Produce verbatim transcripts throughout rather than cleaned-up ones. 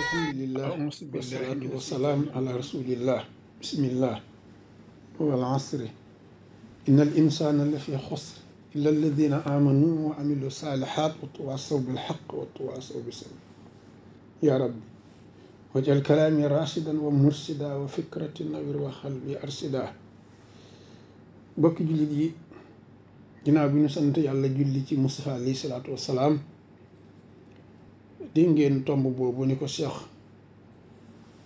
alhamdulillah أعوذ بالله wasalaatu من wasalaam الشيطان ala الرجيم rasulillah bismillah wal asri inna al insana la fi xusr illa alladina amanu wa amilu salihat wa tawasaw bil haqq wa tawasaw bis sabr ya rabbi wajal kalaami rashidan wa mursida wa fikrati nawir wa xalbi arsida bokki jullit yi ginnaaw bi ñu sant yàlla julli ci Mustafa alayhi salaatu wasalaam di ngeen tomb boobu ni ko Cheikh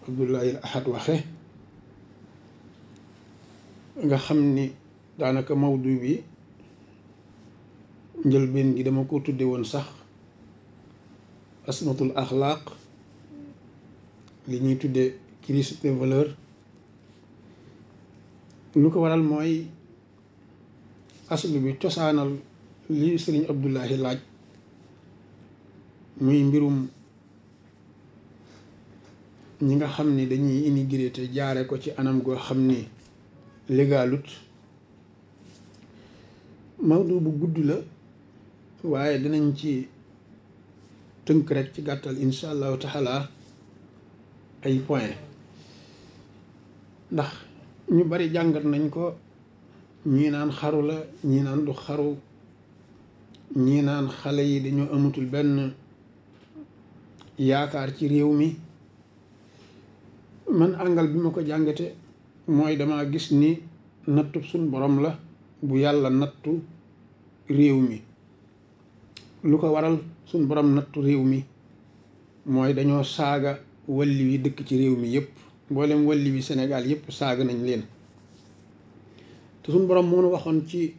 Abdoulaye Ahad waxe nga xam ni daanaka mawdu bi njëlbeen gi dama ko tudde woon sax asmatul axlaaq li ñuy tudde crise des valeurs lu ko waral mooy aslu bi cosaanal li sëriñ Abdoulaye laaj muy mbirum ñi nga xam ni dañuy immigré te jaare ko ci anam goo xam ni légalut mawdu bu gudd la waaye dinañ ci tënk rek ci gàttal insha allahu taala ay point ndax ñu bari jàngat nañ ko ñii naan xaru la ñii naan du xaru ñii naan xale yi dañoo amatul benn yaakaar ci réew mi man àngal bi ma ko jàngate mooy dama gis ni nattu suñ borom la bu yàlla nattu réew mi lu ko waral suñ borom nattu réew mi mooy dañoo saaga walli wi dëkk ci réew mi yépp mboolem walli wi Sénégal yépp saaga nañ leen te suñ borom moo nu waxoon ci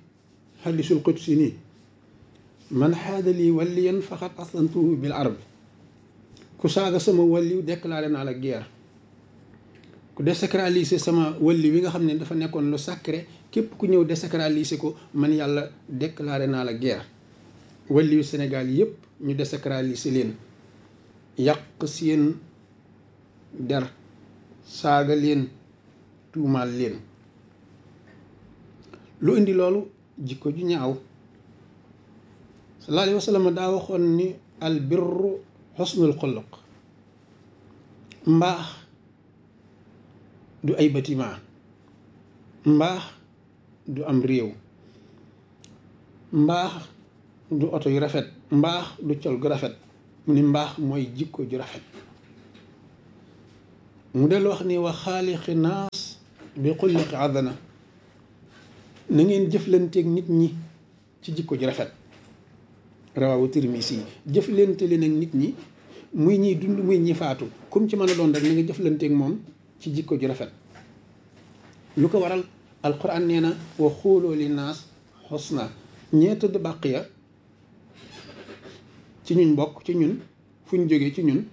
hadisul qudsi nii man xaada lii walliyan faqad aslantuhu bil arb ku saaga sama walliw déclaré naa la guerre ku désacraliser sama walli wi nga xam ne dafa nekkoon lu sacré képp ku ñëw désacraliser ko man yàlla déclaré naa la guerre walliwu Sénégal yépp ñu désacraliser leen yàq seen der saaga leen tuumaal leen lu indi loolu jikko ju ñaaw sallallahu alayhi wa sallam daa waxoon ni al birru xusnul xuluq mbaax du ay bâtiment mbaax du am réew mbaax du oto yu rafet mbaax du col gu rafet mu ni mbaax mooy jikko ju rafet mu del wax ni wa xaaliqi naas bi xulliqi adana na ngeen jëflanteeg nit ñi ci jikko ju rafet rawawu Tirmisi yi jëflante leen ak nit ñi muy ñiy dund muy ñi faatu comme ci mën a doon rek na nga jëflanteeg moom ci jikko ju rafet lu ko waral alquran nee na wa xuuloo li naas xusna ñee tëdd bàq ya ci ñun bokk ci ñun fu ñu jógee ci ñun